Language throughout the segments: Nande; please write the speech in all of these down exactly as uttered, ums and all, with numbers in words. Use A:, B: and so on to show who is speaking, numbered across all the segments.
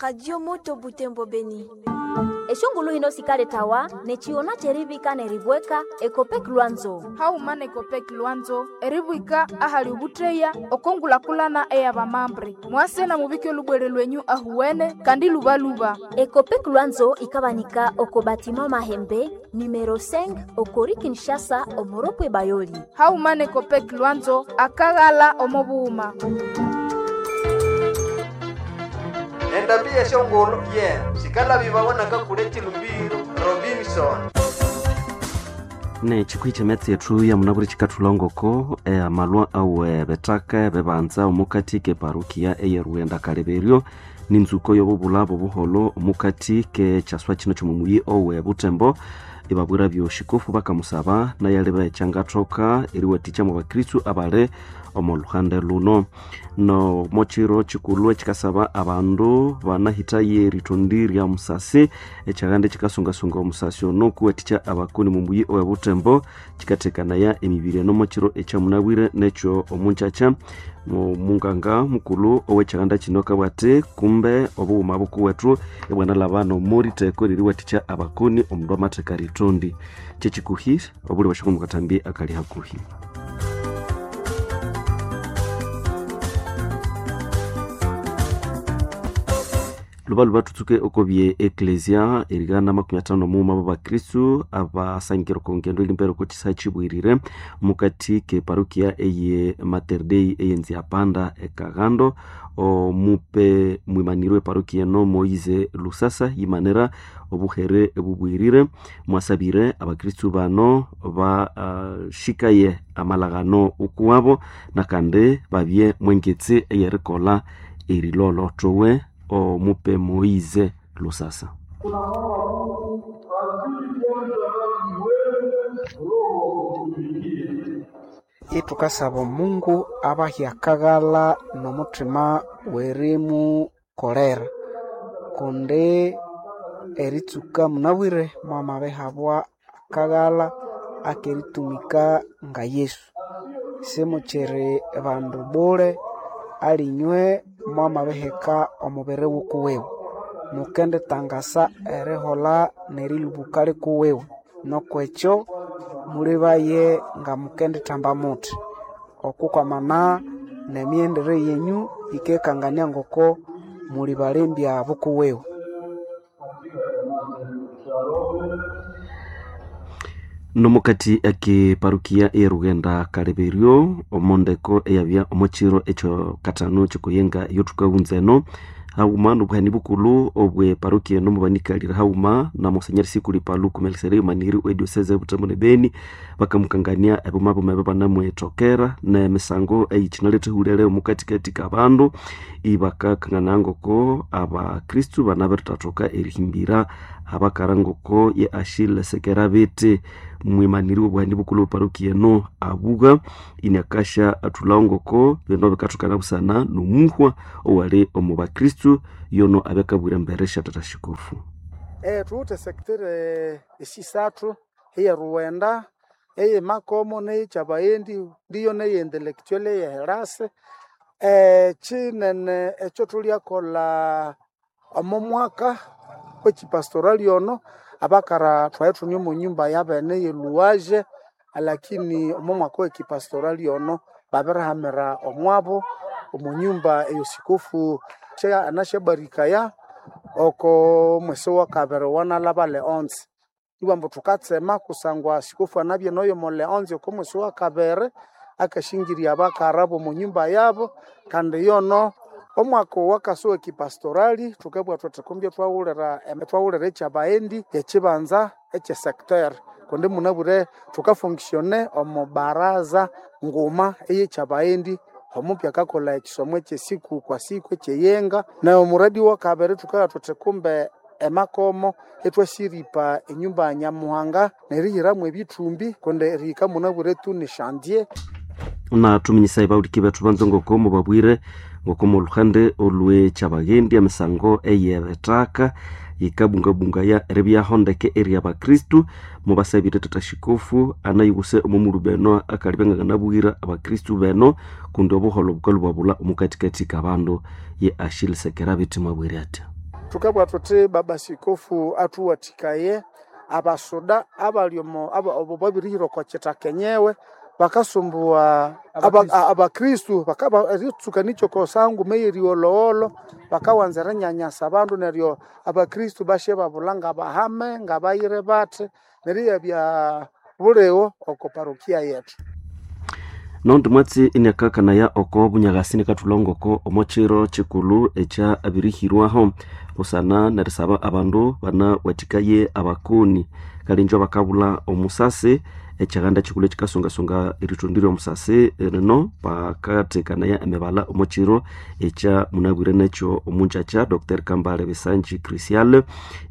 A: Radio Moto Butembo Beni.
B: Eshongulu hino sikaletawa nechiona cherivika neribweka Ekopek Lwanzo.
C: Hauma nekopek Lwanzo eribwika ahali ubutreya okongulakulana eyabamambre mwase na mubike lubwere lwenyu ahuwene kandi lubaluba.
B: Ekopek Lwanzo ikabanika oko batima mahembe numero cinq okori Kinshasa omoropwe Bayoli.
C: Hauma nekopek Lwanzo akaghala omobuuma.
D: Endambi yeshongolo ye sikala bibawonaka kule chilumbiro Robinson.
E: Ne chikwi metsi yethu ya munaburi chikathulongoko e amalwa awe betaka bebanza omukati ke parukia eyerughenda kaleberyo ninzuko yobubulabo buholo omukati ke chaswa chino chomumuyi owe Butembo ibabwira byoshikofu bakamusaba nayaleba echangathoka eriwathikya mu bakristu abali omo luhande luno. No mochiro chikulhu echikasaba abandu banahithaye eritondi rya musasi ekyaganda chikasungasunga omusasi ono kuwathikya abakoni mumuyi owe Butembo chikathekanaya emibiri eno mochiro ekyamunabwire nekyo omunkyakya. Munganga mukulu owekyaganda kino akabwati kumbe obughuma bukuwethu ibwanalaba nomoritheko eririwathikya abakoni omundu amatheka ritondi kyekikuhi obuli bwashoko mukathambi akali hakuhi. Lubaluba tutsuke okobye eklesia erigana makumi atano muuma b'abakristu abasangire okongendo elimbere oko kisa kibwirire mukati ke parokia eye Mater Dei eyenzi panda ekagando omupe mwimanirwe parokia eno Moise Lusasa yimanira obuhere ebubwirire mwasabire abakristu bano bashikaye uh, amalagano ukuwabo nakandi babye mwengetsi eyerikolha erilolo towe omupe Moise Lusasa.
F: Tunamwomba Mungu azidi kwanza nafsi wenu roho wa kutumikia.
G: Itukasaba Mungu abahe akaghala n'omuthima werimukolera kundi eritsuka munabwire mwamabihabwa akaghala akeritumika nga Yesu. Simukyiri bandu bule alinywe mwamabiheka omubiri wukuwiwe mukenditangasa eriholha nerilubuka likuwiwe nokwekyo mulibaye nga mukendithamba muthi okukwamana nemyendere yenyu yikekangania ngoko muli balembya bukuwiwe.
E: Nomukati ake parukia erughenda kaleberyo omondeko eyabya omukiro ekyo katano kyokuyenga yothukawunza eno haghuma nobuhani bukulhu obwe parukia eno mubanikalire haghuma na Monsenyeri Sikuli Paluku Melkisedeki maniri we diocese ya Butembo ne Beni bakamukangania ebuma buma ebyo banamwethokera nemisango eyikinaletha omukatikati kabandu ibakakangana ngoko abakristu banabirithathoka erihimbira abakara ngoko ye Achille Sekerabete mwimaniri wobuhani bukulhu bwe parukia eno abuga iniakasha athulhawo ngoko bino bikathokana busana nomuhwa owali omu bakristu yono abakabwira embere sya tata shikofu.
H: Eh, thuwithe sector esisathu eyeruwenda eyemakomo neyekyabayendi ndiyo neye intellectual eyeherase. Eh, kinene ekyo thulyakolha omo mwaka wekipastorali ono abakara thwaye thune omo nyumba yabene yeluwaje lakini omo mwaka wekipastorali ono babirihamira omwabo omo nyumba eyosikofu anasyabarikaya oko mwesi wakabiri wanalaba Leonce ibwambu thukatsema kusangwa sikofu anabya noyo mo Leonce oko mwesi wakabiri akashingirya abakara bomo nyumba yabo kandi yono omwaka owakasa wekipastorali thukabugha thuthi kumbye thwaghulira thwaghulira ekyabaghenda ekibanza ekyesector kundi munabwire thukafunctione omo baraza nguma eyekyabaghenda omupya akakolha ekisomo ekyesiku kwa siku ekyeyenga na omuradi wakabiri thukabugha thuthi kumbe emakomo ithwasiripa enyumba ya Nyamuhanga nerihiramu ebithumbi kundi erihika munabwire tu ni chantier.
E: Na tuminyisa ibawuliki bethu banza ngoko mubabwire ngoko muluhande olwekyabagendi emisango eyebethaka yikabungabungaya eribyaho ndeke eri abakristu mubasabire tata shikofu anayibuse omumulu beno akalibya nganabwira abakristu beno kundi obuholo bukalhu bwabula omukatikati kabandu ye Achille Sekerabete mwabwire atya.
H: Tukabwa tuti baba sikofu atuwatikaye abasuda abali omo abo babirihira oko kitaka enyewe bakasumbuwa abakristu bakaba eritsuka nikyo kosangu meyeriolowolo bakawanza erinyanyasa abandu neryo abakristu bashe babula ngabahame ngabayire bathi neryo yabya buliwo oko parokia yetu.
E: Nondi mwatsi iniakakanaya oko bunyagasi nikathulongoko omo kiro kikulu ekya abirihirwaho busana nerisaba abandu banawathikaye abakoni kalinjo bakabula omusasi ekyaganda kikulu ekikasungasunga erithundi lyomusasi rino bakathekanaya emibala omo kiro ekya munabwire nekyo omunjakya Doctor Kambale Bisanji Christian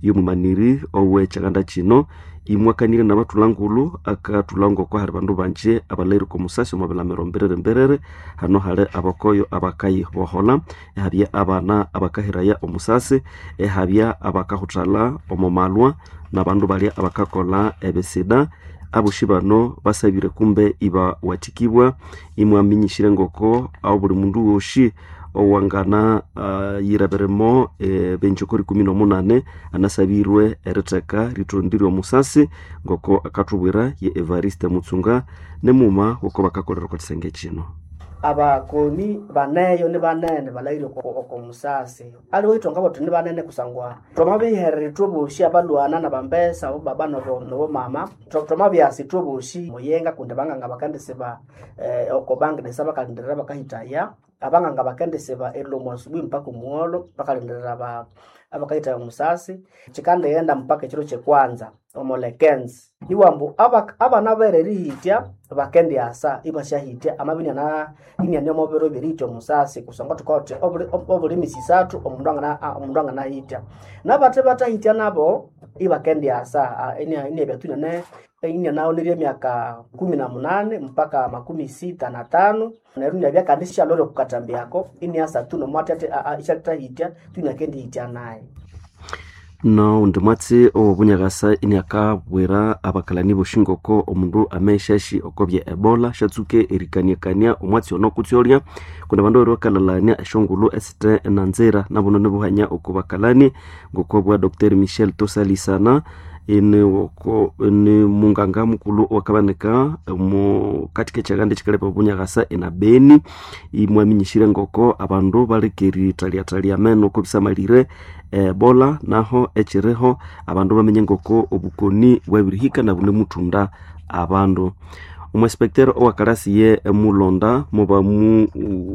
E: yomumaniri owekyaganda kino imwakanire nabathulangulu akathulanga oko hali bandu banje abalhaireko omusasi omo bilamiro mbiriri mbiriri hano hali abakoyo abakayibohola ehabya abana abakahiraya omusasi ehabya abakahuthalha omo malwa nabandu balya abakakolha ebisida aboshi bano basabire kumbe ibawathikibwa imwaminyishire ngoko aho buli mundu woshi owangana uh, yirabiremo e, benjoko rikumi nomunane anasabirwe eritheka rithondi lyomusasi ngoko akathubwira ye Evariste Mutsunga nemuma woko bakakolera oko kisenge kino.
I: Abakoni baneyo ni banene balahire oko musasi aliwo ithonga botho ni banene kusangwa twamabiherera ithwe bosi abalwana nabambesa abo baba nobo nobo mama twamabyasa ithwe bosi muyenga kundi banganga bakandisiba eh, oko bangdesa bakalindirira bakahitaya abanganga bakendisiba erilomo asubuhi mpaka omugholo bakalindirira ba abakahitaya omusasi kikandighenda mpaka ekiro kyekwanza omulekenzi iwambu abana bere erihitya bakendiasa ibasyahitya amabya iniana iniane omo biro byerihitya omusasi kusangwa thukawothi obuli misi isathu omundu angana omundu anganahitya nabathe bathahitya nabo ibakendiasa iniabya tu iniane inianaonerya emyaka kumi na munane mpaka makumi sita na tano neryo iniabya kandi syalore okukathambiyako iniasa tu nomwathi athi isyalithahitya tu iniakendihitya naye.
E: No undi mwatsi owobunyakasa iniakabwira abakalani boshi ngoko omundu ameshashi okobya ebola syatsuke erikaniakania omwatsi ono kutsi olya kundi abandu babiri bakalalania esyongulhu esithe nanzira nabuno nibuhanya oko bakalani ngoko bwa Doctor Michel Tosalisana ini woko ni munganga mukulhu owakabanika mu katika ekyaganda ekyikalepa obunyakasa ena Beni imwaminyishire ngoko abandu baleka erithalyatalya ameno oko bisamalire ebola naho ekyiriho abandu bamenye ngoko obukoni bwabirihika nabunemuthunda abandu. Omwesipektero owakalasi emulonda mubamuhirire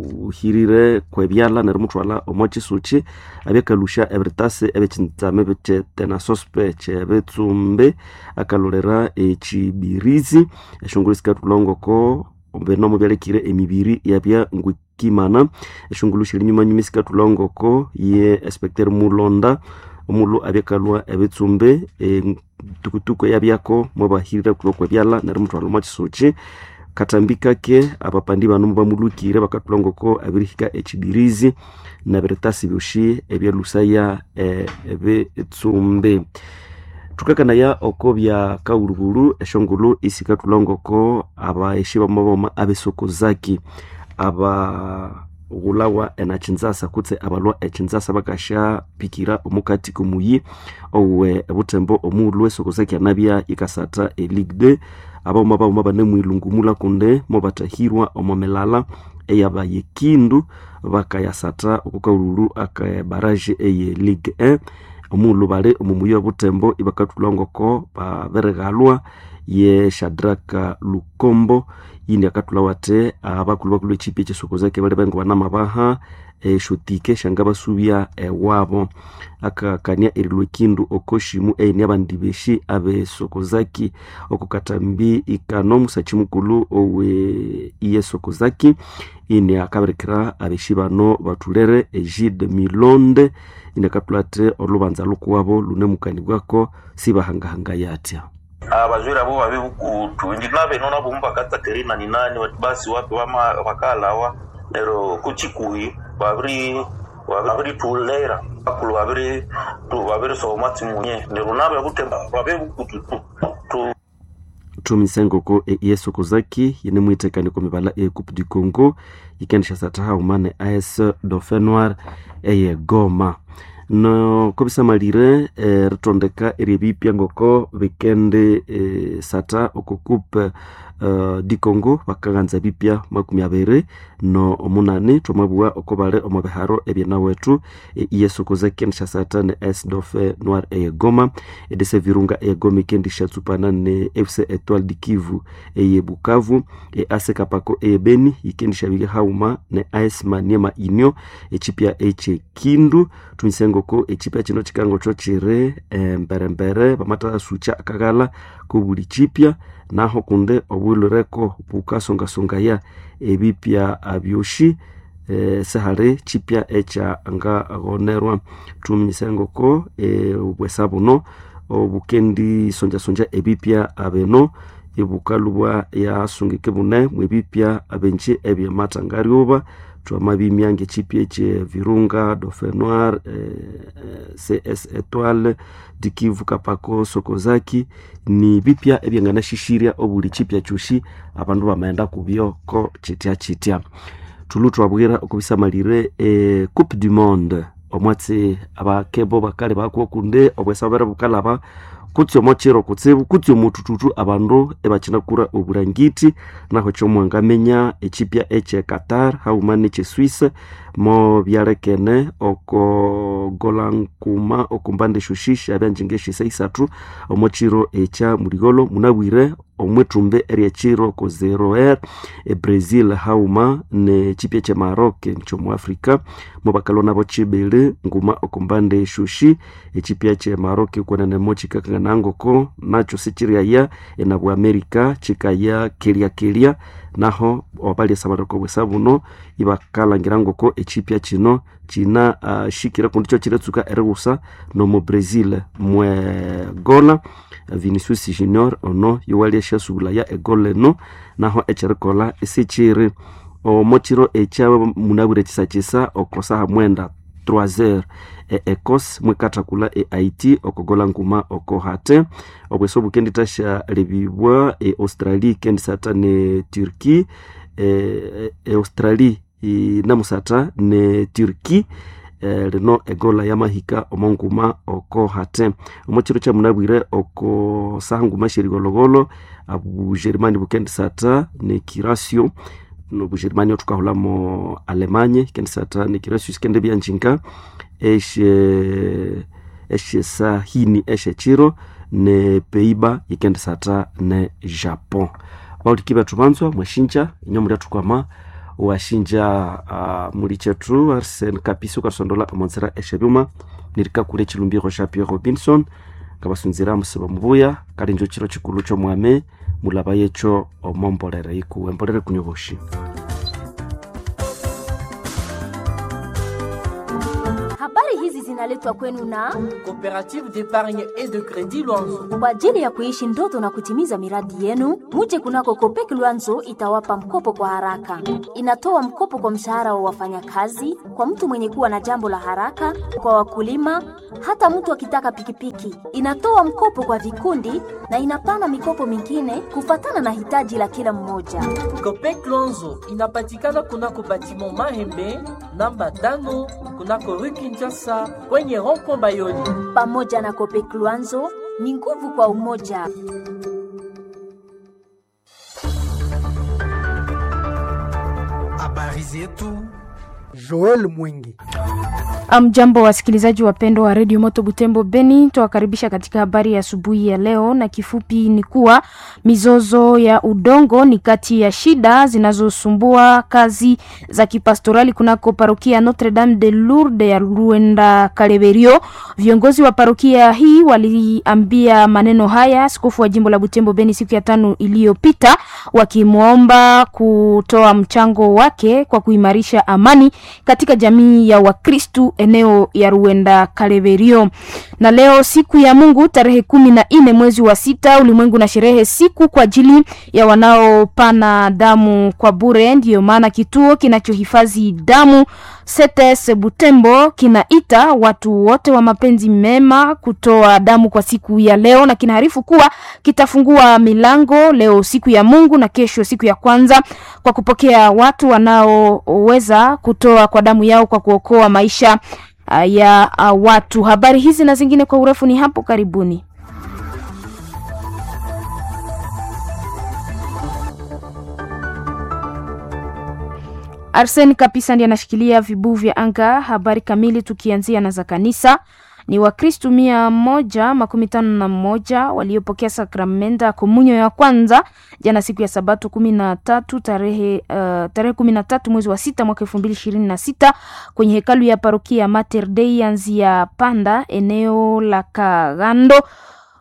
E: kwebyalha nerimuthwalha omo kyisuki abyakalusha ebiritasi ebyekyitsame kyetenasospe kyebitsumbi akalolera ekyibirizi esyongulhu sikathulha ngoko bino mubyalekire emibiri yabya ngwikimana esyongulhu syeri nyumanyuma sikathulha ngoko ye especter mulonda omulhu abyakalwa ebitsumbi entukutuku eyabyako mwabahirira kulwa kwebyalha nerimuthwalha omo kyisuki katambi kake abapandi bano mubamulhukire bakathulha ngoko abirihika ekyibirizi nebiritasi byosi ebyalusaya ebitsumbi. Thukakanaya oko bya kaghulhughulhu esyongulhu isikathulha ngoko abaeshi bamaboma abesokozaki abaghulhawa enakyinzasa kutse abalhwa ekyinzasa bakasyapikira omukati komuyi owe ebuthembo omughulhu esokozaki anabya yikasatha e Ligue deux abaghuma baghuma banemwilungumulha kundi mubathahirwa omo milala eyabayekindu bakayasatha oko kaghulhughulhu aka baraje eye Ligue un omughulhu bali omo muyi obuthembo ibakathulha ngoko babirighalwa ye Shadraka Lukombo yindi akathulha wathi abakulhu bakulhu ekipi ekyesokozaki bali bengo banamabaha esyotike syangabasubya ewabo akakania erilwa ekindu okoshimu eyini abandi beshi abesokozaki oko katambi ikano omusakyi mukulhu owe iyesokozaki ini akabirikira abeshi bano bathulere Egide Milonde ini akathulha athi olhubanza lukuwabo lunemukanibwako sibahangahangaya atya
J: abajwere abo babe bukutu indi nabeno nabo mubakatsakeri nani nani basi wapi bama bakalawa nero kuchikuhi babiri babiri bakulu babiri tu babiri soma tsimunye nero nabe butemba babe bukutu tu tu
E: thumisengoko eyesokozaki yinemwithekaniko mibala e Coupe du Congo yikendisha satha haghuma ne A S Dauphin Noir eye Goma. No kobisamalire eritondeka eryebipya ngoko bikendi eh, sata oko coupe uh, di Congo bakaghanza ebipya makumi abiri no omunani. Twamabugha oko bali omo biharo ebyenawethu e, iyesokoza Kinshasa ne A S Dauphin Noir eye Goma, E D C Virunga eye Goma ikendishatsupana ne F C Etoile du Kivu eye Bukavu, e A C Kapako eye Beni ikendishabika hauma ne A S Maniema Union echipya eche Kindu. Tumisengoko echipya chino chikango cho chiri emberembere bamathasucha akaghala kobuli chipya naho kunde obwilureko bukasongasongaya ebipya byoshi e, sihali chipya ekya ngaghonerwa. Tuminyisengoko e, obwesa buno obukendisonjasonja ebipya bino ibukalubwa yasungike bune mwebipya abenji ebyemathangaryuba. Twamabimya ngechipya ekye Virunga, Dauphin Noir, eh, C S Etoile du Kivu, Kapako, Sokozaki ni bipya ebyanganashishirya obuli chipya kyoshi abandu bamaghenda kubyo ko chitya chitya. Thulu twabwira okubisamalire eh, Coupe du Monde omwatsi abakebo bakali bakuwa kunde obwesa bubere bukalaba kutsi omochiro kutsibu kutsi omutututu abandu ebakinakura obulangiti. Naho kyomwangamenya echipya eche Qatar hauma neche Swiss mo byalekene oko golankuma okumbande shushisha abyanjinga eshisa isathu omochiro echa muligolo. Munabwire omwithumbi eryechiro ko zero r e Brazil hauma nechipya che Maroc kyomu Africa mobakalwa nabo chibili nguma okumbande shushi. Echipya che Maroc kwenene chikakangana ngoko nacho sichiryaya enabu America chikaya kelya kelya naho obalyesabalirako bwesa buno ibakalangira ngoko echipya chino china uh, shikira kundi kyo kiretsuka erighusa nomu Brazil mwegola Vinicius Junior ono yowalya syasubulaya egol eno naho ekyerikolha isikyiri omochiro ekya munabwire kyisakisa okosaha mwenda trois heures e Ecosse mwikathakulha e Haiti okogola nguma oko hate. Obwesa obukendithasya-lebibwa e Australie ikendisatha ne Turkey e, e Australie inamusatha ne Turkey e, lino egola yamahika omonguma oko hate. Omochiro kyamunabwire oko saha nguma syerigologolo Obujerumani bukendisatha ne Curacao nobujerumani thukahulamo Alemanya ikendisatha ne Curacao sikendibya njinga esye esyesahini esyekiro ne Peiba ikendisatha ne Japon. Bawuliki bethu banzwa mwashinja inyo mulyathukama washinja uh, muli kyethu Arsene Kapisi ukasondola omonzera esyebyuma nirikakula ekilumbiro sya Pierre Robinson ngabasunzira musiba mubuya kalinjo kiro kikulu kyomwami mulaba yekyo omombolere ikuwe embolere kunyoboshi.
B: Habari hizi zinaletwa kwenu na
K: Coopérative d'épargne et de crédit Luanzo.
B: Kwa ajili ya kuishi ndoto na kutimiza miradi yenu. Muje kunako Kopek Luanzo itawapa mkopo kwa haraka. Inatoa mkopo kwa mshahara wa wafanyakazi, kwa mtu mwenye kuwa na jambo la haraka, kwa wakulima, hata mtu akitaka pikipiki. Inatoa mkopo kwa vikundi na inapana mikopo mingine kufatana na hitaji la kila mmoja.
K: Copec Luanzo inapatikana kunako batiment Mahembe namba tano kunako rue Kinshasa kwenye rond-point Bayoli.
B: Pamoja na Kopek Luanzo ni nguvu kwa umoja.
L: Habari zetu Joel Mwingi.
C: Amjambo, wasikilizaji wapendwa wa redio Moto Butembo Beni, twawakaribisha katika habari ya asubuhi ya leo, na kifupi ni kuwa mizozo ya udongo ni kati ya shida zinazosumbua kazi za kipastorali kunako parokia Notre Dame de Lourdes ya Ruenda Kaleberio. Viongozi wa parokia hii waliambia maneno haya askofu wa jimbo la Butembo Beni siku ya tano iliyopita, wakimwomba kutoa mchango wake kwa kuimarisha amani katika jamii ya Wakristu eneo ya Ruenda Kaleberio. Na leo siku ya Mungu tarehe kumi na nne mwezi wa sita, ulimwengu na sherehe siku kwa ajili ya wanaopana damu kwa bure. Ndiyo maana kituo kinachohifadhi damu C T S Butembo kinaita watu wote wa mapenzi mema kutoa damu kwa siku ya leo, na kinaarifu kuwa kitafungua milango leo siku ya Mungu na kesho siku ya kwanza kwa kupokea watu wanaoweza kutoa kwa damu yao kwa kuokoa maisha ya watu. Habari hizi na zingine kwa urefu ni hapo karibuni. Arsen Kapisa ndiye anashikilia vibuu vya anga. Habari kamili tukianzia na za kanisa ni Wakristu mia moja makumi tano na moja waliopokea sakramenta ya komunyo ya kwanza jana siku ya Sabato kumi na tatu tarehe uh, tarehe kumi na tatu mwezi wa sita mwaka elfu mbili ishirini na sita kwenye hekalu ya parokia ya Mater Dei ya Nzia Panda eneo la Kagando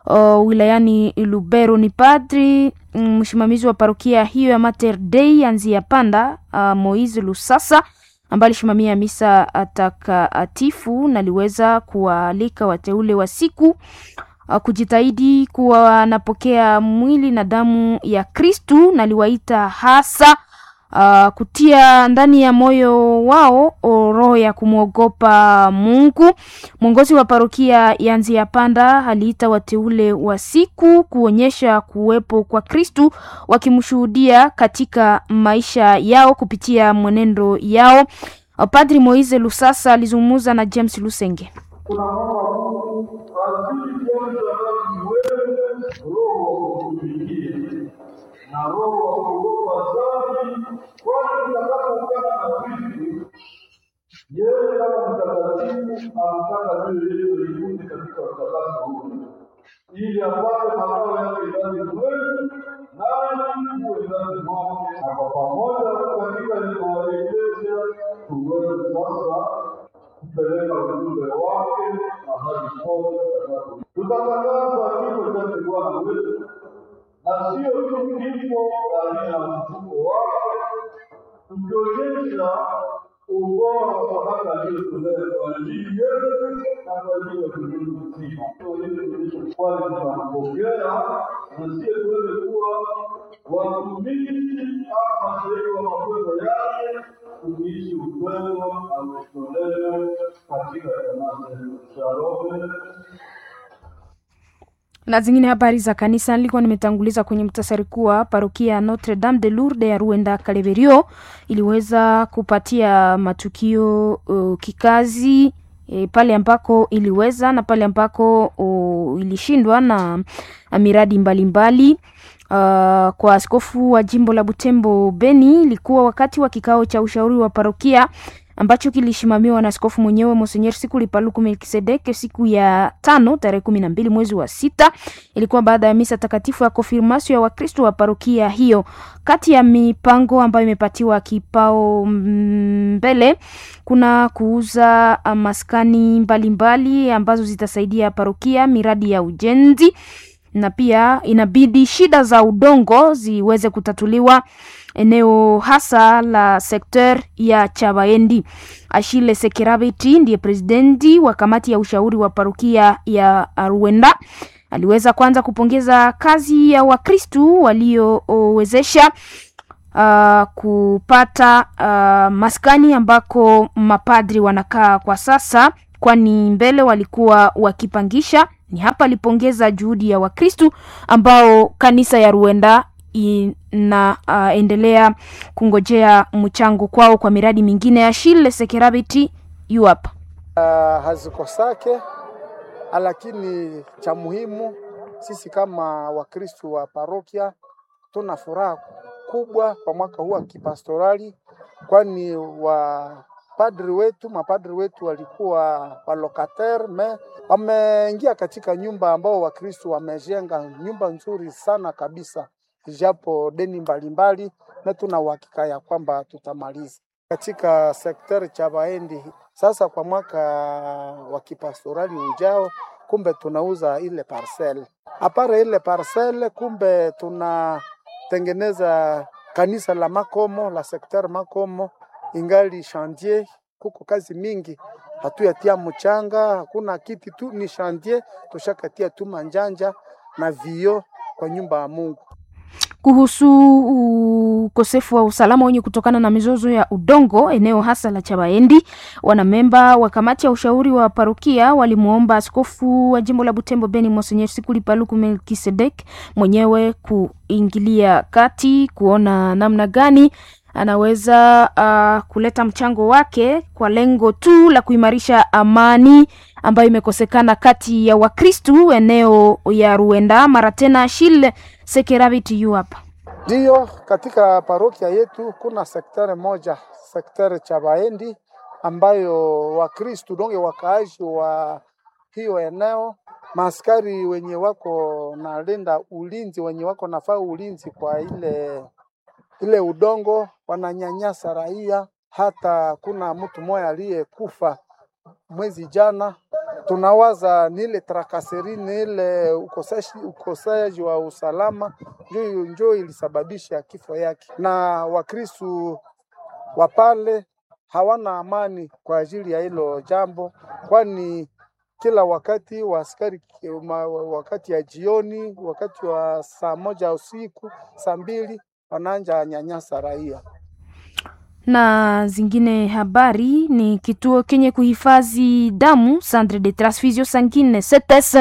C: uh, wilayani Lubero. Ni padri msimamizi wa parokia hiyo ya Mater Dei ya Nzia Panda uh, Moise Lusasa ambaye alisimamia misa takatifu na aliweza kuwaalika wateule wa siku kujitahidi kuwa wanapokea mwili na damu ya Kristu, na aliwaita hasa uh, kutia ndani ya moyo wao roho ya kumwogopa Mungu. Mwongozi wa parokia ya Nzia Panda aliita wateule wa siku kuonyesha kuwepo kwa Kristu, wakimshuhudia katika maisha yao kupitia mwenendo yao. Padri Moise Lusasa alizungumza na James Lusenge.
F: Tunamwomba Mungu azidi kuanza nasi wewe roho wa kutumikia na roho wa kuogopa dhambi, kwani tutakapoungana na Kristo, yeye kama mtakatifu anataka mioyo yetu ikunde katika utakaso huo, ili apate makao yake ndani mwetu, nani muwe ndani mwake, na kwa pamoja katika maelekezo tuweze sasa kupeleka ujumbe wake mahali pote tutakapo. Tutatangaza kifo chake Bwana wetu, na sio tu kifo, bali na ufufuko wake, tukionyesha ubora wa sadaka aliyotolea kwa ajili yetu na kwa ajili ya ulimwengu mzima. Kwani tunampokea na sie tuweze kuwa watumishi ama mashahidi wa matendo yake, tukiishi upendo na kujitolea katika jamaa zetu. Shalom.
C: Na zingine habari za kanisa nilikuwa nimetanguliza kwenye mtasari kuwa parokia ya Notre Dame de Lourdes ya Ruenda Kaleberio iliweza kupatia matukio uh, kikazi e, pale ambako iliweza na pale ambako uh, ilishindwa na miradi mbalimbali mbali. Uh, kwa askofu wa jimbo la Butembo Beni ilikuwa wakati wa kikao cha ushauri wa parokia ambacho kilisimamiwa na askofu mwenyewe Monsenyer Sikuli Paluku Melkisedeke siku ya tano tarehe kumi na mbili mwezi wa sita. Ilikuwa baada ya misa takatifu ya konfirmasio ya Wakristo wa parokia hiyo. Kati ya mipango ambayo imepatiwa kipao mbele kuna kuuza maskani mbalimbali mbali ambazo zitasaidia parokia, miradi ya ujenzi na pia inabidi shida za udongo ziweze kutatuliwa eneo hasa la sekter ya Chabaendi. Ashile Sekerabeti ndiye presidenti wa kamati ya ushauri wa parokia ya Ruenda. Aliweza kwanza kupongeza kazi ya Wakristu waliowezesha uh, kupata uh, maskani ambako mapadri wanakaa kwa sasa, kwani mbele walikuwa wakipangisha. Ni hapa alipongeza juhudi ya Wakristu ambao kanisa ya Ruenda inaendelea uh, kungojea mchango kwao kwa miradi mingine ya Shile Sekerabiti yu hapa.
H: Uh, hazikosake, lakini cha muhimu sisi kama Wakristu wa parokia tuna furaha kubwa kwa mwaka huu wa kipastorali, kwani wa padri wetu mapadri wetu walikuwa walokater me wameingia katika nyumba ambao Wakristo wamejenga nyumba nzuri sana kabisa, japo deni mbalimbali, na tuna uhakika ya kwamba tutamaliza katika sekteri cha Baendi. Sasa kwa mwaka wa kipastorali ujao, kumbe tunauza ile parcel apare ile parcel, kumbe tunatengeneza kanisa la Makomo la sekter Makomo ingali chantier, kuko kazi mingi, hatuyatia mchanga, hakuna kiti tu, ni chantier, tushakatia tu manjanja na vio kwa nyumba ya Mungu.
C: Kuhusu ukosefu wa usalama wenye kutokana na mizozo ya udongo eneo hasa la Chabaendi, wanamemba wa kamati ya ushauri wa parokia walimwomba askofu wa jimbo la Butembo Beni Monsenyer Sikuli Paluku Melkisedek mwenyewe kuingilia kati kuona namna gani anaweza uh, kuleta mchango wake kwa lengo tu la kuimarisha amani ambayo imekosekana kati ya Wakristu eneo ya Ruenda. Mara tena Shile Sekerabiti yu hapa.
H: Ndiyo, katika parokia yetu kuna sekteri moja, sekteri cha Baendi ambayo Wakristu donge wakaaji wa hiyo eneo, maaskari wenye wako nalinda ulinzi, wenye wako nafaa ulinzi kwa ile ile udongo, wananyanyasa raia. Hata kuna mtu mmoja aliyekufa mwezi jana. Tunawaza ni ile trakaseri, ni ile ukoseshi ukoseji wa usalama njo njo ilisababisha kifo yake, na Wakristu wa pale hawana amani kwa ajili ya hilo jambo, kwani kila wakati wa askari ma- wakati ya jioni, wakati wa saa moja usiku, saa mbili wanaanja nyanyasa raia.
C: Na zingine habari ni kituo kenye kuhifadhi damu Centre de Transfusion Sanguine C T S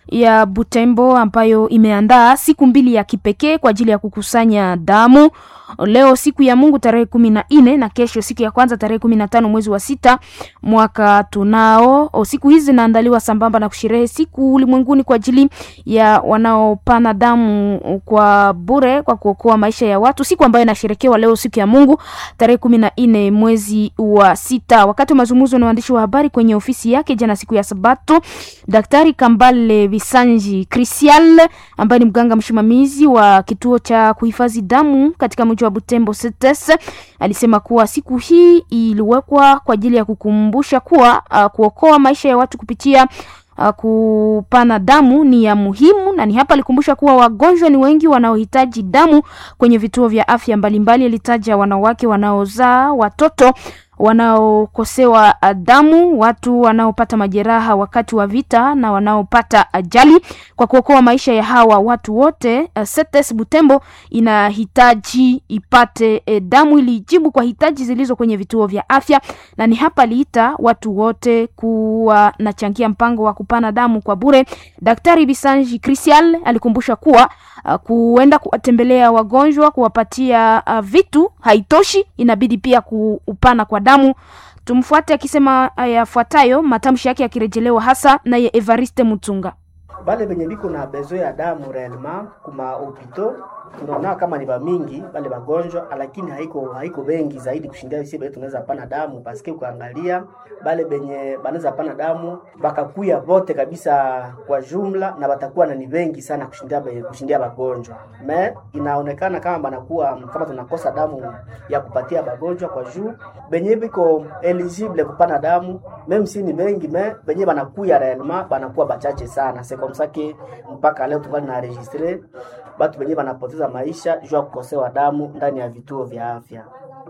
C: ya Butembo ambayo imeandaa siku mbili ya kipekee kwa ajili ya kukusanya damu. Leo siku ya Mungu tarehe kumi na nne na kesho siku ya kwanza tarehe kumi na tano mwezi wa sita mwaka tunao. O, siku hizi zinaandaliwa sambamba na kusherehe siku ulimwenguni kwa ajili ya wanaopana damu kwa bure kwa kuokoa maisha ya watu, siku ambayo inasherekewa leo siku ya Mungu tarehe kumi na nne mwezi wa sita. Wakati wa mazungumzo na waandishi wa habari kwenye ofisi yake jana siku ya Sabato, Daktari Kambale Bisanji Christian ambaye ni mganga msimamizi wa kituo cha kuhifadhi damu katika mji wa Butembo C T S alisema kuwa siku hii iliwekwa kwa ajili ya kukumbusha kuwa uh, kuokoa maisha ya watu kupitia uh, kupana damu ni ya muhimu, na ni hapa alikumbusha kuwa wagonjwa ni wengi wanaohitaji damu kwenye vituo vya afya mbalimbali. Alitaja wanawake wanaozaa, watoto wanaokosewa damu, watu wanaopata majeraha wakati wa vita na wanaopata ajali. Kwa kuokoa maisha ya hawa watu wote, C T S Butembo inahitaji ipate eh, damu ili ijibu kwa hitaji zilizo kwenye vituo vya afya, na ni hapa aliita watu wote kuwa nachangia mpango wa kupana damu kwa bure. Daktari Bisanji Christian alikumbusha kuwa uh, kuenda kuwatembelea wagonjwa, kuwapatia uh, vitu haitoshi, inabidi pia kuupana kwa damu. Tumfuate akisema yafuatayo, matamshi yake yakirejelewa hasa naye Evariste Mutunga.
I: Bale benye biko na besoin ya damu réellement kuma hopito tunaona kama ni bamingi bale bagonjwa, lakini haiko haiko bengi zaidi kushindia sisi benye tunaweza pana damu, paske ukaangalia bale benye banaweza pana damu bakakuya bote kabisa kwa jumla, na batakuwa na ni bengi sana kushindia be, kushindia bagonjwa. Me inaonekana kama banakuwa kama tunakosa damu ya kupatia bagonjwa kwa juu benye biko eligible kupana damu meme si ni bengi me benye banakuya réellement banakuwa bachache sana. C'est comme ça que mpaka leo tungali na registre batu benye banapoteza maisha juu ya kukosewa damu ndani ya vituo vya afya.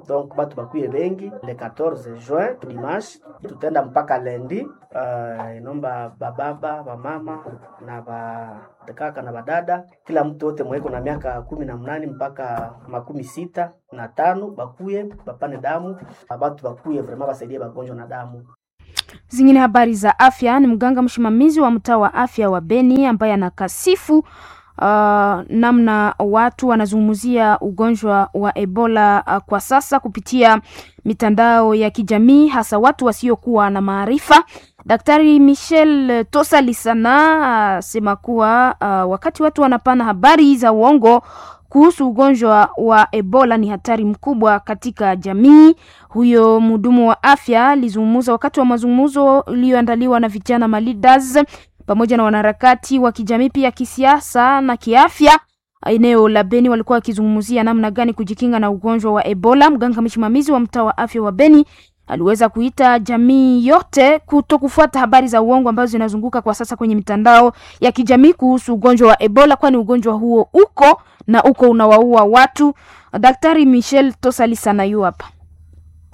I: Donc batu bakuye bengi le quatorze juin dimanche tutaenda mpaka lundi. Uh, inomba bababa bamama na bakaka na badada, kila mtu wote mweko na miaka kumi na mnane mpaka makumi sita na tano bakuye bapane damu, batu bakuye vraiment basaidie bagonjwa na damu.
C: Zingine habari za afya ni mganga msimamizi wa mtaa wa afya wa Beni ambaye anakasifu Uh, namna watu wanazungumzia ugonjwa wa Ebola uh, kwa sasa kupitia mitandao ya kijamii, hasa watu wasiokuwa na maarifa. Daktari Michel Tosalisana asema uh, kuwa uh, wakati watu wanapana habari za uongo kuhusu ugonjwa wa Ebola ni hatari mkubwa katika jamii. Huyo mhudumu wa afya alizungumza wakati wa mazungumzo iliyoandaliwa na vijana maleaders pamoja na wanaharakati wa kijamii pia kisiasa na kiafya eneo la Beni. Walikuwa wakizungumzia namna gani kujikinga na ugonjwa wa Ebola. Mganga msimamizi wa mtaa wa afya wa Beni aliweza kuita jamii yote kutokufuata habari za uongo ambazo zinazunguka kwa sasa kwenye mitandao ya kijamii kuhusu ugonjwa wa Ebola, kwani ugonjwa huo uko na uko unawaua watu. Daktari Michel Tosalisana yu hapa.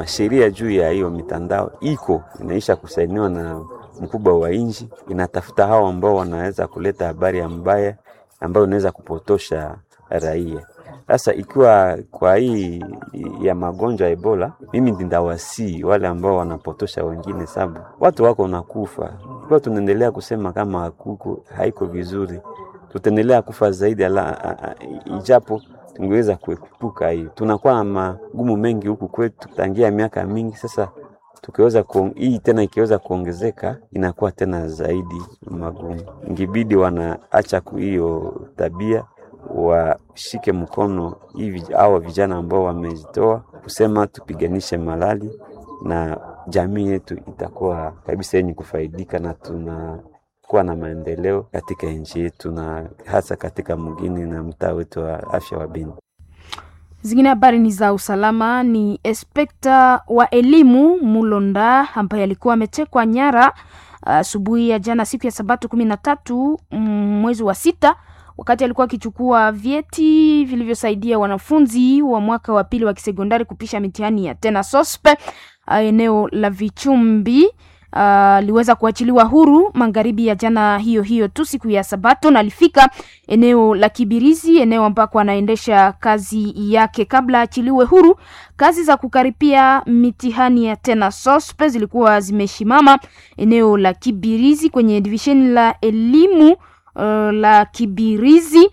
M: Sheria juu ya hiyo mitandao iko inaisha kusainiwa na mkubwa wa nchi, inatafuta hao ambao wanaweza kuleta habari ya mbaya ambayo inaweza kupotosha raia. Sasa ikiwa kwa hii ya magonjwa ya Ebola, mimi ndawasii wale ambao wanapotosha wengine, sababu watu wako nakufa. Ikiwa tunaendelea kusema kama hakuko haiko vizuri, tutaendelea kufa zaidi ala, a, a, ijapo Tungeweza kuepuka hiyo. Tunakuwa na magumu mengi huku kwetu tangia miaka mingi sasa, tukiweza kuong, hii tena ikiweza kuongezeka inakuwa tena zaidi magumu. Ingibidi wanaacha hiyo tabia, washike mkono hivi hawa vijana ambao wamejitoa kusema tupiganishe malali, na jamii yetu itakuwa kabisa yenye kufaidika na tunakuwa na maendeleo katika nchi yetu na hasa katika mgini na mtaa wetu wa afya wa Beni.
C: Zingine habari ni za usalama. Ni inspekta wa elimu Mulonda ambaye alikuwa ametekwa nyara asubuhi ya jana siku ya Sabato kumi na tatu mwezi wa sita wakati alikuwa akichukua vyeti vilivyosaidia wanafunzi wa mwaka wa pili wa kisekondari kupisha mitihani ya tena sospe eneo la Vichumbi. Aliweza uh, kuachiliwa huru magharibi ya jana hiyo hiyo tu siku ya Sabato, na alifika eneo la Kibirizi, eneo ambako anaendesha kazi yake. Kabla achiliwe huru, kazi za kukaripia mitihani ya tena sospe zilikuwa zimeshimama eneo la Kibirizi kwenye divisheni la elimu uh, la Kibirizi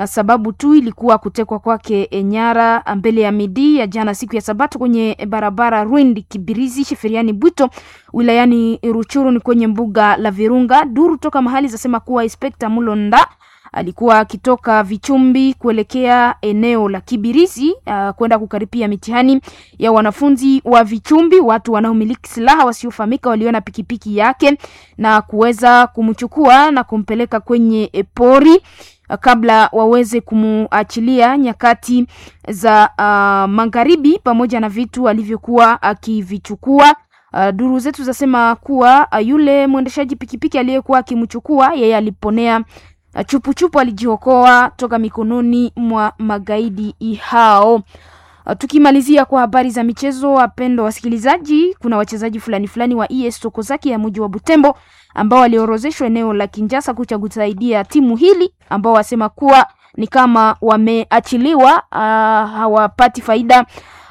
C: sababu tu ilikuwa kutekwa kwake nyara mbele ya midi ya jana siku ya Sabato kwenye barabara Rwindi Kibirizi Sheferiani Bwito wilayani Ruchuru ni kwenye mbuga la Virunga. Duru toka mahali zasema kuwa Inspekta Mulonda alikuwa akitoka Vichumbi kuelekea eneo la Kibirizi uh, kwenda kukaripia mitihani ya wanafunzi wa Vichumbi. Watu wanaomiliki silaha wasiofahamika waliona pikipiki yake na kuweza kumchukua na kumpeleka kwenye pori kabla waweze kumuachilia nyakati za uh, magharibi pamoja na vitu alivyokuwa akivichukua. Uh, duru zetu zasema kuwa uh, yule mwendeshaji pikipiki aliyekuwa akimchukua yeye aliponea chupuchupu, alijiokoa toka mikononi mwa magaidi hao. Uh, tukimalizia kwa habari za michezo, wapendwa wasikilizaji, kuna wachezaji fulani fulani wa E S Sokozaki ya mji wa Butembo ambao waliorozeshwa eneo la Kinshasa kucha kusaidia timu hili, ambao wasema kuwa ni kama wameachiliwa, uh, hawapati faida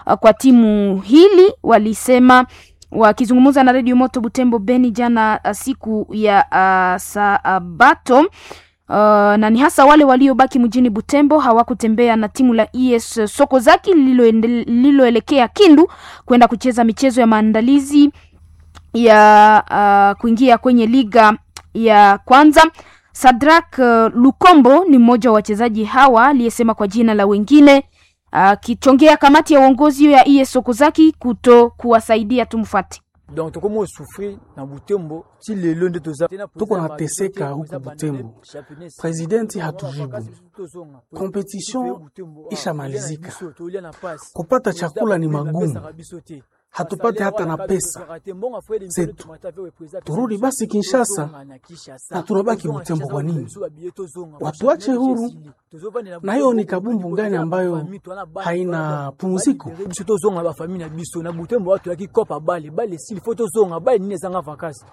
C: uh, kwa timu hili, walisema wakizungumza na Radio Moto Butembo Beni jana siku ya uh, Sabato. Uh, na ni hasa wale waliobaki mjini Butembo hawakutembea na timu la E S Sokozaki lililoelekea Kindu kwenda kucheza michezo ya maandalizi ya uh, kuingia kwenye liga ya kwanza. Sadrak uh, Lukombo ni mmoja wa wachezaji hawa aliyesema kwa jina la wengine akichongea uh, kamati ya uongozi ya E S Sokozaki kuto kuwasaidia. Tumfuate.
N: Donc tokomo souffrir na Butembo ti lelo nde toza
O: tuko nateseka huku Butembo, presidenti hatujibu, competition ishamalizika, kupata chakula ni magumu, hatupate hata na pesa zetu. Turudi basi Kinshasa na tunabaki Butembo kwa nini? Watuache huru. Na hiyo ni kabumbu gani ambayo haina pumziko?
N: Biso tozonga ba famille na biso na Butembo, watu yakikopa bale bale s'il faut tozonga bale nini ezanga vacances.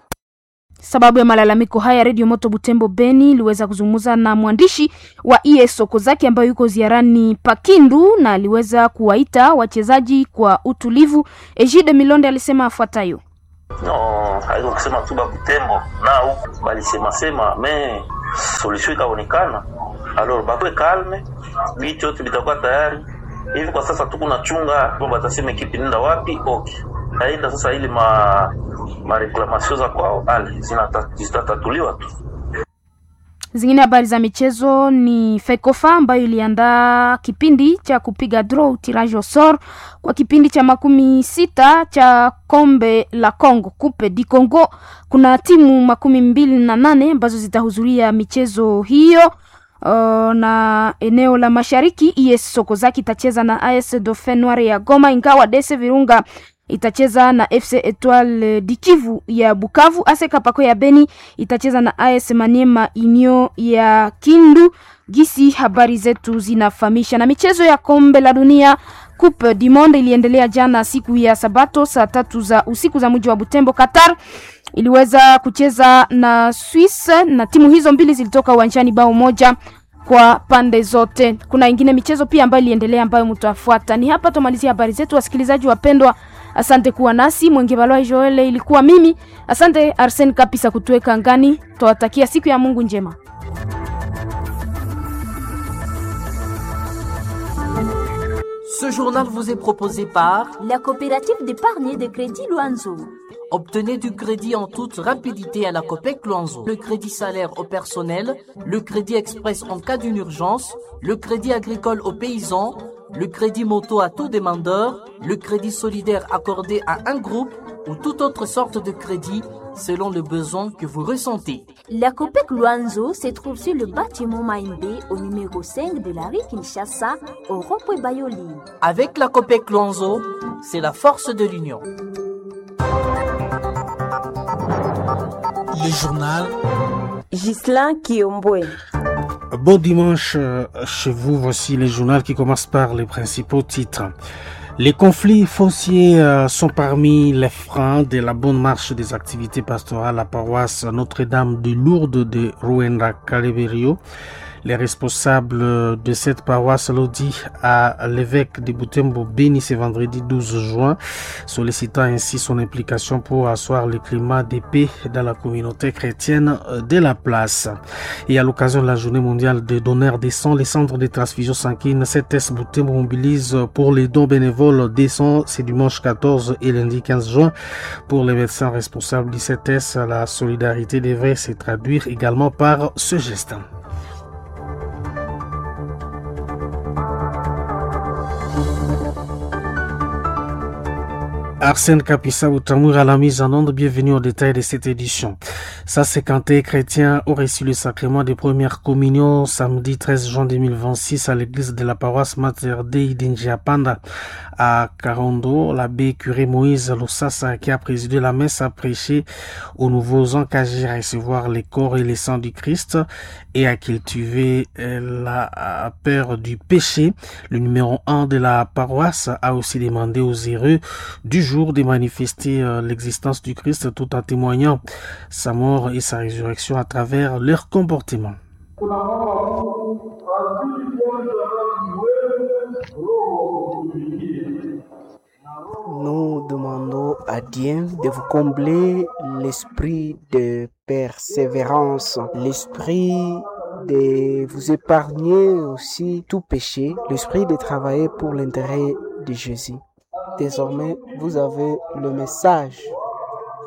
C: Sababu ya malalamiko haya, Radio Moto Butembo Beni iliweza kuzungumza na mwandishi wa E S Sokozaki ambayo yuko ziarani Pakindu na aliweza kuwaita wachezaji kwa utulivu. Ejide Milonde alisema afuatayo.
J: No, haiko kusema tu ba Butembo na huku balisema sema me solution ikaonekana. Alors bakwe calme, bitu yote bitakuwa tayari. Hivi kwa sasa tuko na chunga batasema ekipi nenda wapi? Okay. Aenda sasa ili ma ma reclamation za kwao ale zitatatuliwa tu.
C: Zingine habari za michezo ni FECOFA ambayo iliandaa kipindi cha kupiga draw tirage au sort kwa kipindi cha makumi sita cha kombe la Congo, Coupe du Congo. Kuna timu makumi mbili na nane ambazo zitahudhuria michezo hiyo. Uh, na eneo la mashariki E S Sokozaki itacheza na A S Dauphin Noir ya Goma, ingawa D S Virunga itacheza na F C Etoile du Kivu ya Bukavu. A S Kapako ya Beni itacheza na A S Maniema Union ya Kindu. Gisi habari zetu zinafahamisha. Na michezo ya kombe la dunia Coupe du Monde iliendelea jana siku ya Sabato saa tatu za usiku za mji wa Butembo. Qatar iliweza kucheza na Swiss na timu hizo mbili zilitoka uwanjani bao moja kwa pande zote. Kuna ingine michezo pia ambayo iliendelea ambayo mtafuata. Ni hapa tumalizia habari zetu, wasikilizaji wapendwa. Asante kuwa nasi. Mwenge Balwa Joel ilikuwa mimi. Asante Arsene Kapisa kutuweka ngani. Twawatakia siku ya Mungu njema.
K: Ce journal vous est proposé par
B: la coopérative d'épargne et de crédit Luanzo.
K: Obtenez du crédit en toute rapidité à la Copec Luanzo. Le crédit salaire au personnel, le crédit express en cas d'une urgence, le crédit agricole aux paysans, le crédit moto à tout demandeur, le crédit solidaire accordé à un groupe ou toute autre sorte de crédit selon le besoin que vous ressentez.
B: La Copec Luanzo se trouve sur le bâtiment Maïmbé au numéro cinq de la rue Kinshasa au rond-point Bayoli.
K: Avec la Copec Luanzo, c'est la force de l'union.
P: Le journal
A: Ghislain Kiombwe.
O: Bon dimanche chez vous, voici le journal qui commence par les principaux titres. Les conflits fonciers sont parmi les freins de la bonne marche des activités pastorales à la paroisse Notre-Dame de Lourdes de Ruenda Kaleberio. Les responsables de cette paroisse l'ont dit à l'évêque de Butembo Beni ce vendredi douze juin, sollicitant ainsi son implication pour asseoir le climat de paix dans la communauté chrétienne de la place. Et à l'occasion de la journée mondiale des donneurs des sangs, les centres de transfusion sanguine C T S Butembo mobilise pour les dons bénévoles des sangs, c'est dimanche quatorze et lundi quinze juin. Pour les médecins responsables du C T S, la solidarité devrait se traduire également par ce geste. Arsène Kapissa Outamur à la mise en onde, bienvenue au détail de cette édition. Ça c'est quand les chrétiens ont reçu le sacrement des premières communions samedi treize juin deux mille vingt-six à l'église de la paroisse Mater Dei d'Injiapanda à Karondo. L'abbé curé Moïse Lossassa qui a présidé la messe a prêché aux nouveaux engagés à recevoir les corps et les sangs du Christ et à cultiver la peur du péché. Le numéro un de la paroisse a aussi demandé aux heureux du jour de manifester l'existence du Christ tout en témoignant sa mort et sa résurrection à travers leur comportement.
G: Nous demandons à Dieu de vous combler l'esprit de persévérance, l'esprit de vous épargner aussi tout péché, l'esprit de travailler pour l'intérêt de Jésus. Désormais, vous avez le message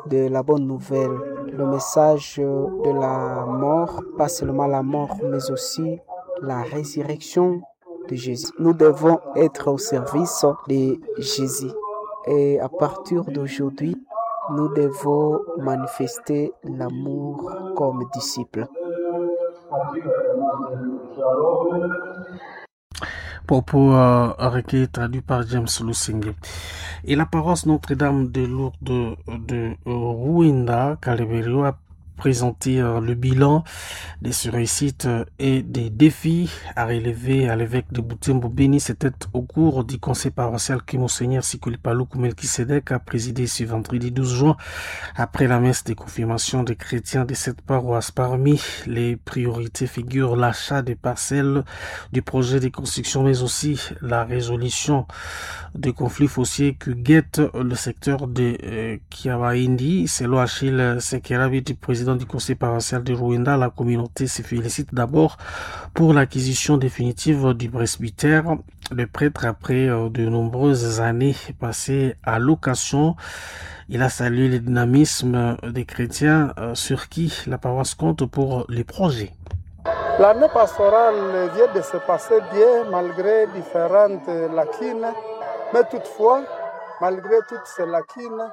G: de la bonne nouvelle, le message de la mort, pas seulement la mort, mais aussi la résurrection de Jésus. Nous devons être au service de Jésus. Et à partir d'aujourd'hui, nous devons manifester l'amour comme disciples.
O: Propos euh, recueillis traduit par James Lusenge. Et la paroisse Notre-Dame de Lourdes de, de Ruenda, Kaleberio, a présenté euh, le bilan des réussites et des défis à relever à l'évêque de Butembo Beni. C'était au cours du conseil paroissial que Monseigneur Sikuli Paluku Melchisedec a présidé ce vendredi douze juin après la messe de confirmation des chrétiens de cette paroisse. Parmi les priorités figurent l'achat des parcelles du projet de construction, mais aussi la résolution des conflits fonciers que guette le secteur de euh, Kiawaindi. Selon Achille Sekerabi, du président du conseil paroissial de Rwanda, la communauté se félicite d'abord pour l'acquisition définitive du presbytère. Le prêtre, après de nombreuses années passées à location, il a salué le dynamisme des chrétiens sur qui la paroisse compte pour les projets.
H: L'année pastorale vient de se passer bien malgré différentes lacunes, mais toutefois, malgré toutes ces lacunes,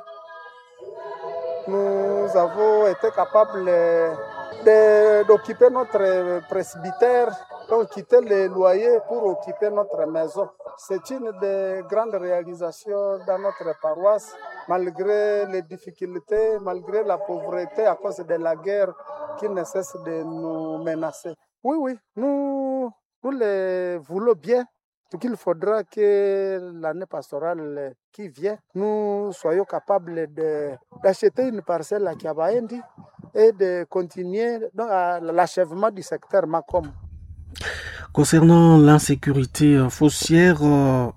H: nous avons été capables de, d'occuper notre presbytère, donc quitter les loyers pour occuper notre maison. C'est une des grandes réalisations dans notre paroisse, malgré les difficultés, malgré la pauvreté à cause de la guerre qui ne cesse de nous menacer. Oui, oui, nous, nous les voulons bien. Donc il faudra que l'année pastorale qui vient, nous soyons capables de, d'acheter une parcelle à Kiabaendi et de continuer donc, à l'achèvement du secteur Makom.
O: Concernant l'insécurité foncière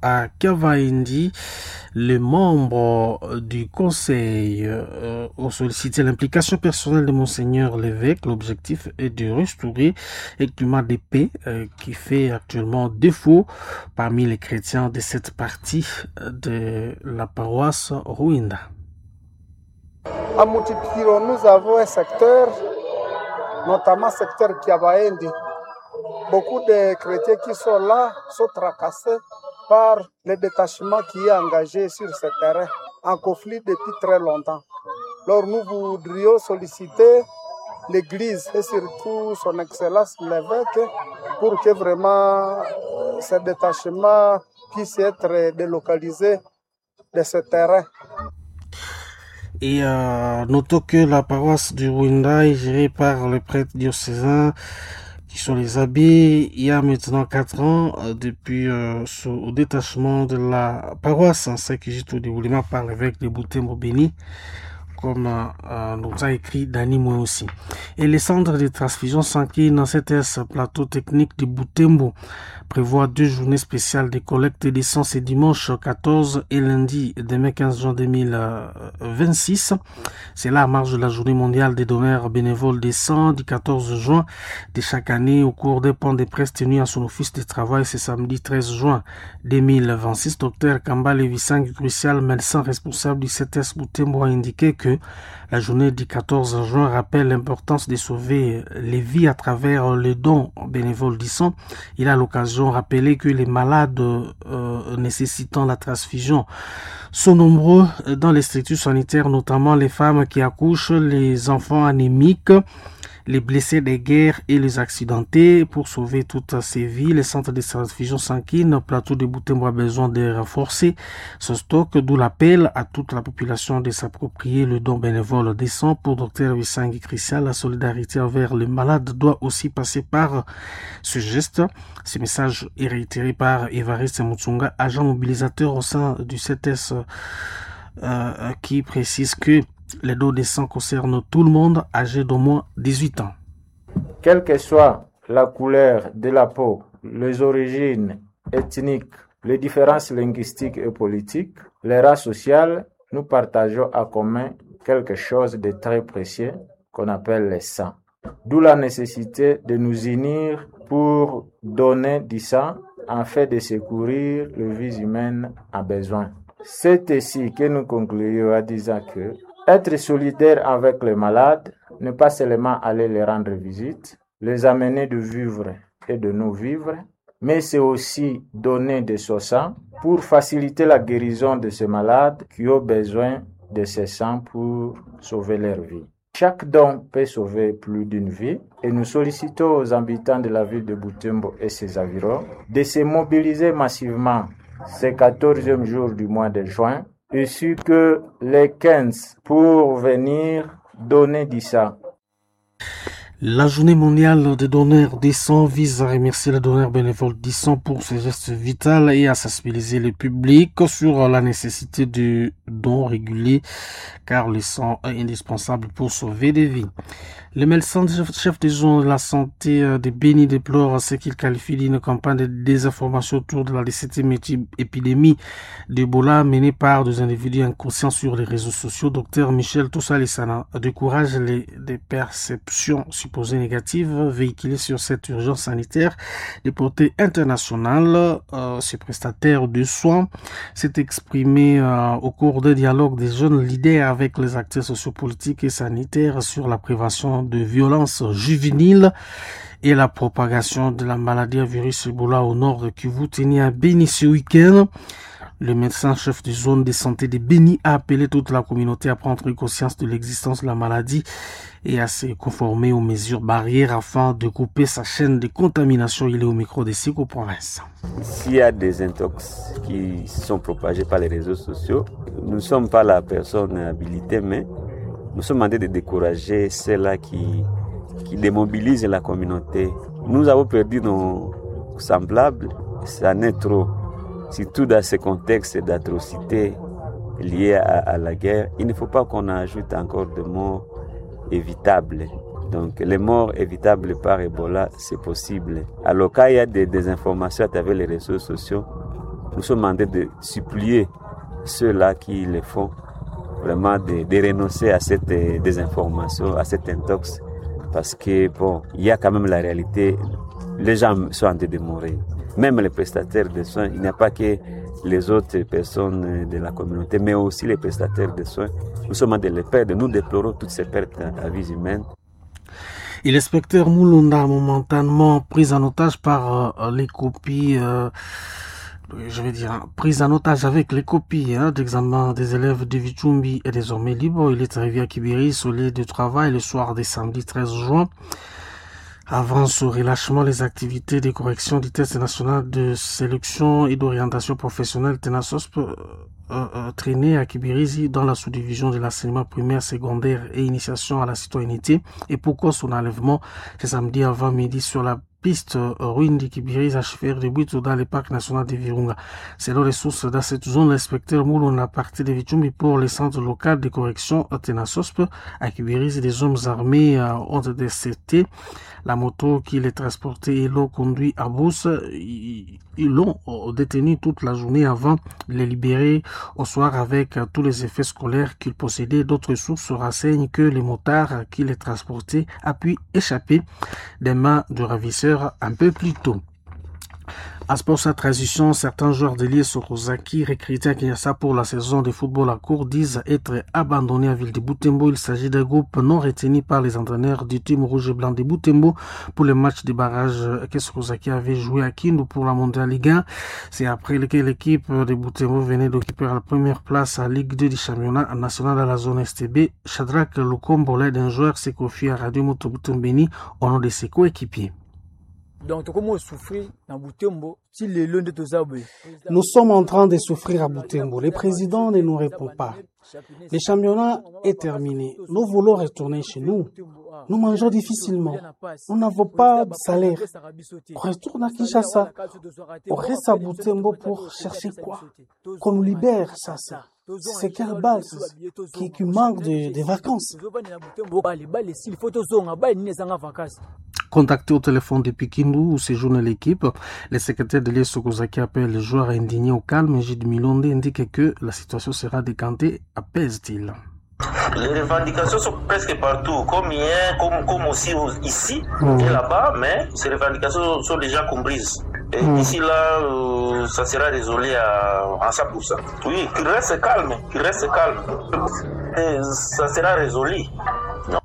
O: à Kavaindi, les membres du conseil ont sollicité l'implication personnelle de Monseigneur l'évêque. L'objectif est de restaurer un climat de paix qui fait actuellement défaut parmi les chrétiens de cette partie de la paroisse Ruinda.
H: À Mutipiro, nous avons un secteur, notamment secteur Kiabaendi. Beaucoup de chrétiens qui sont là sont tracassés par le détachement qui est engagé sur ce terrain, en conflit depuis très longtemps. Alors nous voudrions solliciter l'Église et surtout son Excellence l'évêque pour que vraiment ce détachement puisse être délocalisé de ce terrain.
O: Et euh, notons que la paroisse du Rwanda est gérée par le prêtre diocésain qui sont les abbés. Il y a maintenant quatre ans, euh, depuis euh, ce détachement de la paroisse, ainsi que au déroulement par l'évêque de Butembo Béni, comme euh, nous a écrit Dani Moué aussi. Et les centres de transfusion sanguine dans cet plateau technique de Butembo prévoit deux journées spéciales de collecte de sang ce dimanche quatorze et lundi demain quinze juin deux mille vingt-six. C'est là à marge de la journée mondiale des donneurs bénévoles des sangs du quatorze juin de chaque année au cours des points de presse tenus à son office de travail ce samedi treize juin deux mille vingt-six. Docteur Kambale Vissang Crucial, médecin responsable du C T S Butembo, a indiqué que la journée du quatorze juin rappelle l'importance de sauver les vies à travers les dons bénévoles du sang. Il a l'occasion de rappeler que les malades euh, nécessitant la transfusion sont nombreux dans les structures sanitaires, notamment les femmes qui accouchent, les enfants anémiques, les blessés des guerres et les accidentés. Pour sauver toutes ces vies, les centres de transfusion sanguine, plateau de Butembo a besoin de renforcer ce stock, d'où l'appel à toute la population de s'approprier le don bénévole des sangs. Pour docteur Wissangi Christian, la solidarité envers les malades doit aussi passer par ce geste. Ce message est réitéré par Évariste Mutsunga, agent mobilisateur au sein du C T S, euh, qui précise que les dons de sang concernent tout le monde âgé d'au moins dix-huit ans.
P: Quelle que soit la couleur de la peau, les origines ethniques, les différences linguistiques et politiques, les races sociales, nous partageons à commun quelque chose de très précieux qu'on appelle le sang. D'où la nécessité de nous unir pour donner du sang afin de secourir les vies humaines à besoin. C'est ici que nous concluons en disant que être solidaire avec les malades, ne pas seulement aller les rendre visite, les amener de vivre et de nous vivre, mais c'est aussi donner de son sang pour faciliter la guérison de ces malades qui ont besoin de ce sang pour sauver leur vie. Chaque don peut sauver plus d'une vie et nous sollicitons aux habitants de la ville de Butembo et ses environs de se mobiliser massivement ce quatorzième jour du mois de juin, ainsi que les quinze pour venir donner du sang.
O: La journée mondiale des donneurs des sangs vise à remercier les donneurs bénévoles du sang pour ces gestes vitaux et à sensibiliser le public sur la nécessité de dons réguliers, car le sang est indispensable pour sauver des vies. Le médecin chef des zones de la santé de Beni déplore ce qu'il qualifie d'une campagne de désinformation autour de la dix-septième épidémie d'Ebola menée par des individus inconscients sur les réseaux sociaux. Docteur Michel Toussa-Lissana décourage les, les perceptions supposées négatives véhiculées sur cette urgence sanitaire de portée internationale. Euh, ce prestataire de soins s'est exprimé euh, au cours d'un dialogue des jeunes leaders avec les acteurs sociopolitiques et sanitaires sur la prévention de violences juvéniles et la propagation de la maladie à virus Ebola au nord de Kivu, tenu à Beni ce week-end. Le médecin-chef de zone de santé de Beni a appelé toute la communauté à prendre conscience de l'existence de la maladie et à se conformer aux mesures barrières afin de couper sa chaîne de contamination. Il est au micro des Siko Province.
M: S'il y a des intox qui sont propagés par les réseaux sociaux, nous ne sommes pas la personne habilitée, mais nous sommes en train de décourager ceux-là qui, qui démobilisent la communauté. Nous avons perdu nos semblables, ça n'est trop. Surtout dans ce contexte d'atrocités liées à, à la guerre, il ne faut pas qu'on ajoute encore de morts évitables. Donc, les morts évitables par Ebola, c'est possible. Alors, quand il y a des désinformations à travers les réseaux sociaux, nous sommes en train de supplier ceux-là qui le font, vraiment de, de renoncer à cette désinformation, à cette intox, parce que, bon, il y a quand même la réalité, les gens sont en train de mourir. Même les prestataires de soins, il n'y a pas que les autres personnes de la communauté, mais aussi les prestataires de soins. Nous sommes en train de les perdre. Nous déplorons toutes ces pertes à vie humaine.
O: Et l'inspecteur Moulunda, momentanément pris en otage par euh, les copies, euh, je vais dire, prise en otage avec les copies hein, d'examen des élèves de Vichumbi est désormais libre. Il est arrivé à Kibiri, au lieu de travail, le soir des samedi treize juin. Avant ce relâchement, les activités de correction du test national de sélection et d'orientation professionnelle TENASOSP euh, euh, traînaient à Kibirizi dans la sous-division de l'enseignement primaire, secondaire et initiation à la citoyenneté. Et pourquoi son enlèvement ce samedi avant midi sur la piste ruine de Kibirizi à Chefer de Bwito dans le parc national de Virunga. Selon les sources dans cette zone, l'inspecteur Mouloun a parti de Vichumbi pour le centre local de correction Tenasosp à Kibirizi. Des hommes armés ont déserté la moto qui les transportait et l'ont conduit à Brousse. Ils l'ont détenu toute la journée avant de les libérer au soir avec tous les effets scolaires qu'ils possédaient. D'autres sources renseignent que les motards qui les transportaient a pu échapper des mains du ravisseur un peu plus tôt. À sport sa transition, certains joueurs de l'I S Sokozaki recrutés à Kinshasa pour la saison de football à court disent être abandonnés à ville de Butembo. Il s'agit d'un groupe non retenu par les entraîneurs du team rouge et blanc de Butembo pour le match de barrage que Sokozaki avait joué à Kindu pour la Mondial Ligue un. C'est après lequel l'équipe de Butembo venait d'occuper la première place à Ligue deux du championnat national à la zone S T B. Shadrach Lukombo, l'aide d'un joueur, s'est confié à Radio Moto Butembo au nom de ses coéquipiers.
N: Donc,
O: Nous sommes en train de souffrir à Butembo. Le président ne nous répond pas. Le championnat est terminé. Nous voulons retourner chez nous. Nous mangeons difficilement. Nous n'avons pas de salaire. On retourne à Kinshasa. On reste à Butembo pour chercher quoi? Qu'on nous libère, ça, ça. C'est quelle balle qui, qui manque de, de vacances. Contacté au téléphone depuis Kindu où séjourne l'équipe, le secrétaire de l'I S Sokozaki appelle les joueurs indignés au calme. Gilles Milonde indique que la situation sera décantée, apaise-t-il.
J: Les revendications sont presque partout, comme hier, comme, comme aussi ici mmh. et là-bas, mais ces revendications sont déjà comprises. Et mmh. d'ici là, euh, ça sera résolu à, à cent pour cent. Oui, qu'il reste calme, qu'il reste calme. Et ça sera résolu. Non.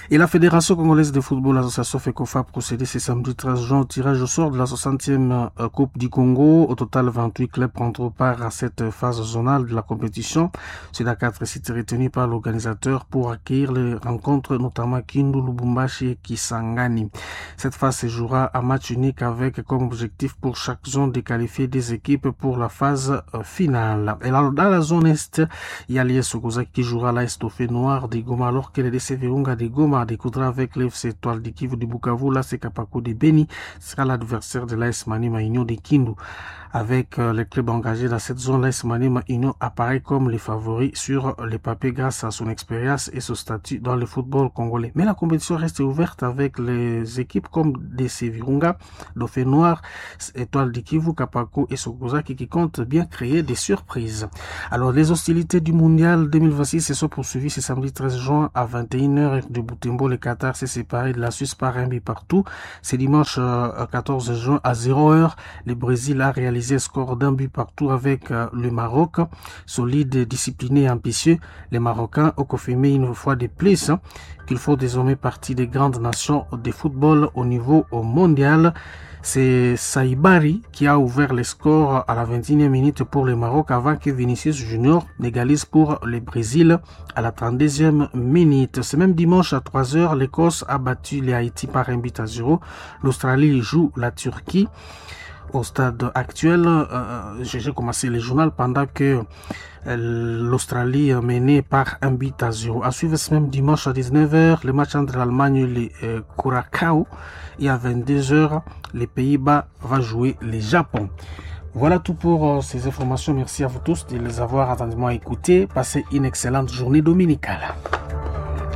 O: Et la Fédération congolaise de football, l'association FECOFA, a procédé ce samedi treize juin au tirage au sort de la soixantième Coupe du Congo. Au total, vingt-huit clubs prendront part à cette phase zonale de la compétition. C'est la quatre sites retenus par l'organisateur pour accueillir les rencontres, notamment Kindu, Lubumbashi et Kisangani. Cette phase se jouera à match unique avec comme objectif pour chaque zone de qualifier des équipes pour la phase finale. Et là, dans la zone Est, il y a l'I S Sokozaki qui jouera l'A S Dauphin Noir de Goma alors que le D C Virunga de Goma découdra avec l'F C Étoile de Kivu de Bukavu. Là, c'est Kapako de Beni sera l'adversaire de l'A S Maniema Union de Kindu. Avec les clubs engagés dans cette zone, l'A S Maniema Union apparaît comme les favoris sur les papiers grâce à son expérience et son statut dans le football congolais. Mais la compétition reste ouverte avec les équipes comme D C Virunga, Dauphin Noir, Étoile de Kivu, Kapako et Sokozaki qui comptent bien créer des surprises. Alors, les hostilités du Mondial deux mille vingt-six se sont poursuivies ce samedi treize juin à vingt et une heures de Butembo. Le Qatar s'est séparé de la Suisse par un but partout. C'est dimanche quatorze juin à zéro heure. Le Brésil a réalisé un score d'un but partout avec le Maroc. Solide, discipliné et ambitieux, les Marocains ont confirmé une fois de plus hein, qu'ils font désormais partie des grandes nations de football au niveau mondial. C'est Saïbari qui a ouvert le score à la vingt et unième minute pour le Maroc avant que Vinicius Junior n'égalise pour le Brésil à la trente-deuxième minute. Ce même dimanche à trois heures, l'Écosse a battu les Haïti par un but à zéro. L'Australie joue la Turquie. Au stade actuel, euh, j'ai commencé le journal pendant que l'Australie menait par un but à zéro. À suivre ce même dimanche à dix-neuf heures, le match entre l'Allemagne et le euh, Curacao. Et à vingt-deux heures, les Pays-Bas va jouer le Japon. Voilà tout pour euh, ces informations. Merci à vous tous de les avoir attentivement écoutées. Passez une excellente journée dominicale.